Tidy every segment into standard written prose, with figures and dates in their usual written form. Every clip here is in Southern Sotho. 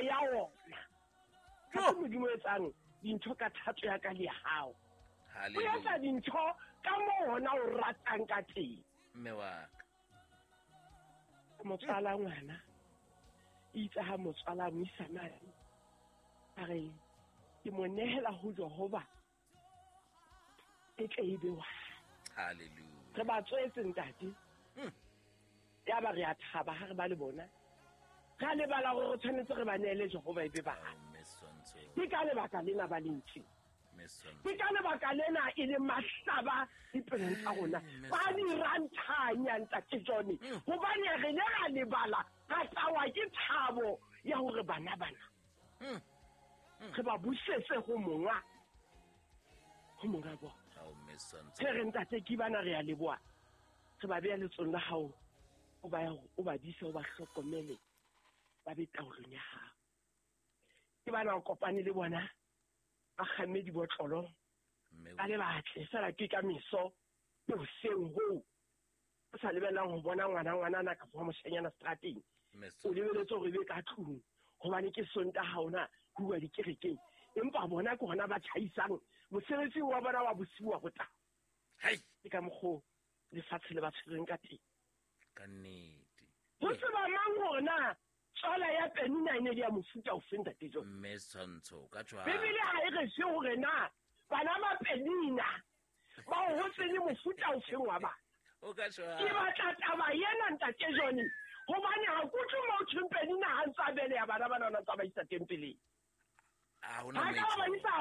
ya ona. Ga se Modimo o etsang dintho ka thato ya ka le ya hao. O etsa dintho ka moo hona o ratang ka teng. Mme wa ka. Motswala ngwana itse ha motswala mo isa mane a re ke mo nehela ho Jehova e tle e be wa. Hallelujah. Re ba tswetse ntate. Ya ba re a thaba ha re ba le bona. Ra lebala gore re tshwanetse re ba neele Jehova e be ba. Ke ka lebaka lena ba leng teng. Ke ka lebaka lena e le mahlaba dipelong tsa rona. Ba di ranthanya ntate John. Hobane re ne ra lebala ra tlawa ke thabo ya hore bana bana re ba busetse ho monga. Ho monga bona. Re re ntate ke bana re a leboha. Re ba beha letsong la hao. O ba dise, o ba hlokomele, ba be taolong ya hao. Ke bana o kopane le bona ba kgamme dibotlolo ba le batle fela ke ka meso ke hoseng hoo o sa lebellang ho bona ngwana ngwanana kapa wa moshanyana strateng. O lebeletse hore e be ka tlung hobane ke Sontaha ha hona ho uwa dikerekeng, empa bona ke hona ba tjhaisang mosebetsing wa bona wa bosiu wa ho tla. Ke ka mokgo lefatshe le ba tshwereng ka teng. Ka nnete. Ho tseba mang hore na tswala ya Penina e ne le ya mofuta ofe ntate John? Mme Setshwantsho ka tshwara. Bibele ha e re fe hore na bana ba Penina ba hotse le mofuta ofeng wa bana. O ka tshwara. Ke batla taba ena ntate John, hobane ha ke utlwe mo ho thweng Penina ha ntse a beleha bana bana ona ntse a ba isa tempeleng. Ha hona Ha ka ba ba moetlo. isa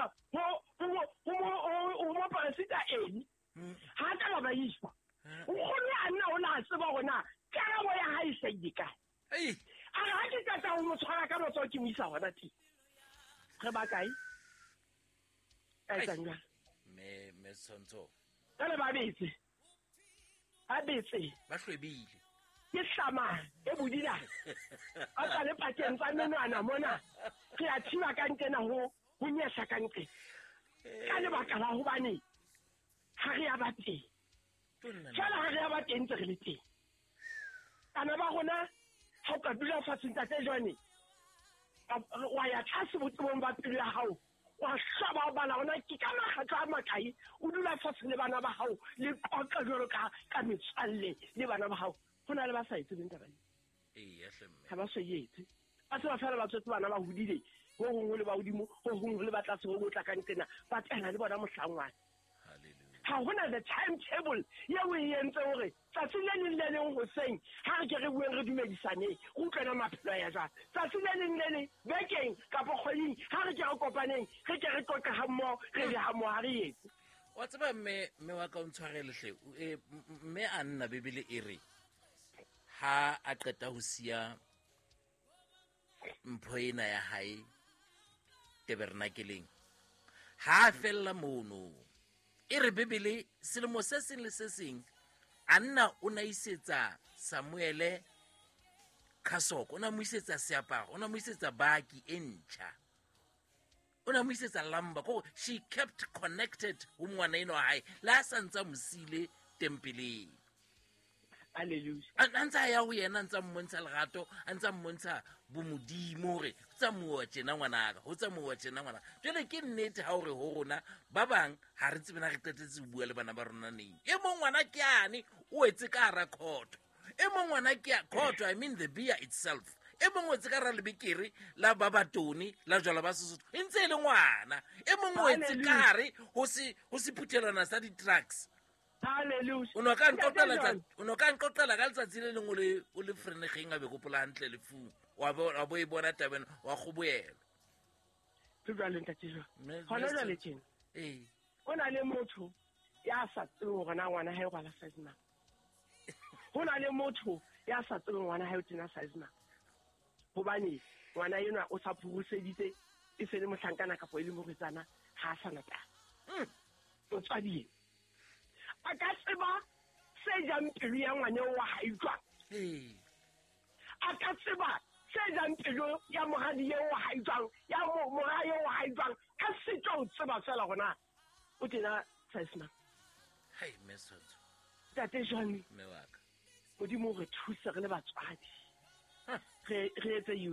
ho moporofeta Eli. Ha ka ba ba isa. Nkgono a nna o na tseba hore na karabo ya hae e hlahile kae. A re ha ke qeta ho mo tshwara ka matsoho ke mo isa hona teng. Re ba kae? Ka etsang jwang? Mme Setshwantsho. Jwale ba betse. Ba betse. Ba hlwebile. Ke hlama e bodila. Ba tla le pakeng tsa menwana mona. Re a thiba ka nqena ho nyehla ka nqena. Ka lebaka la hobane ha re ya ba teng. Jwale ha re ya ba teng ntse re le teng. Bana ba rona ha o ka dula fatshe ntate Jwane, wa ya tlase botebong ba pelo ya hao, wa hlaba o bala hona ke ka makgetlo a makae o dula fatshe le bana ba hao le qoqa jwalo ka metswalle le bana ba hao. Ho na le ba sa e tsebeng taba eo. Eya, hle mme. Ha ba so e etse. Ba tseba feela ba tswetse bana ba hodile, ho hong ho le ba hodimo, ho hong ho le ba tlase, ho hong ho tla ka nqena, ba tela le bona mohlangwana. Hallelujah. Ha hona the timetable eo e entse hore tsatsi le leng le leng hoseng ha re ke re bueng re dumedisaneng, re utlwana maphelo a ya jwang. Tsatsi le leng le leng bekeng kapa kgweding ha re ke re kopaneng, re ke re qoqe ha mmoho, re be ha mmoho, ha re etse. Wa tseba mme wa ka o ntshwarele hle, mme a nna Bibele e re ha a qeta ho siya mpho ena ya hae tabernakeleng, ha a fella mono. E re Bibele selemo se seng le se seng Anna o na isetsa Samuele khasoko, o na mo isetsa seaparo, o na mo isetsa baki e ntjha, o na mo isetsa lamba. Ko she kept connected ho ngwana eno wa hae le ha sa ntsa mo siile tempeleng. Hallelujah. A ntsa ya ho yena, a ntsa mmontsha lerato, a ntsa mmontsha bomodimo hore ho tsamauwa tjena ngwanaka, ho tsamauwa tjena ngwanaka. Jwale ke nnete ha o re ho rona ba bang ha re tsebe na re qetetse ho bua le bana ba rona neng. E mong ngwana ke ane o etse ka hara khotho, e mong ngwana ke a khotho, I mean the beer itself. E mong o etse ka hara lebekere la ba batone la jwala ba Sesotho, e ntse e le ngwana. E mong o etse ka hare ho sephuthelwana sa di-trucks. Hallelujah. O no ka nqoqela o no ka nqoqela ka letsatsi le leng o le frenegeng a be gopola hantle lefung. Wa bo e bona tabeng wa kgoboelwa. Ke jwale ntate John. Hona jwale tjena. Ee. Ho na le motho ya sa tsebeng hore na ngwana hae o rwala size mang. Ho na le motho ya sa tsebeng ngwana hae o tena size mang. Hobane ngwana enwa o sa phuruseditse e se le mohlankana kapa e le morwetsana, ha a sa na taba. Motswadi a ka tseba se jang pelo ya ngwana wa hae jwang? A ka tseba se jang pelo ya moradi eo wa hae jwang? Ya mora eo wa hae jwang? A se tlo tseba fela hore o tena size mang. Hai, mme Setshwantsho. Ntate Johnny. Mme wa ka. Modimo o re thuse re le batswadi. Re etse youth.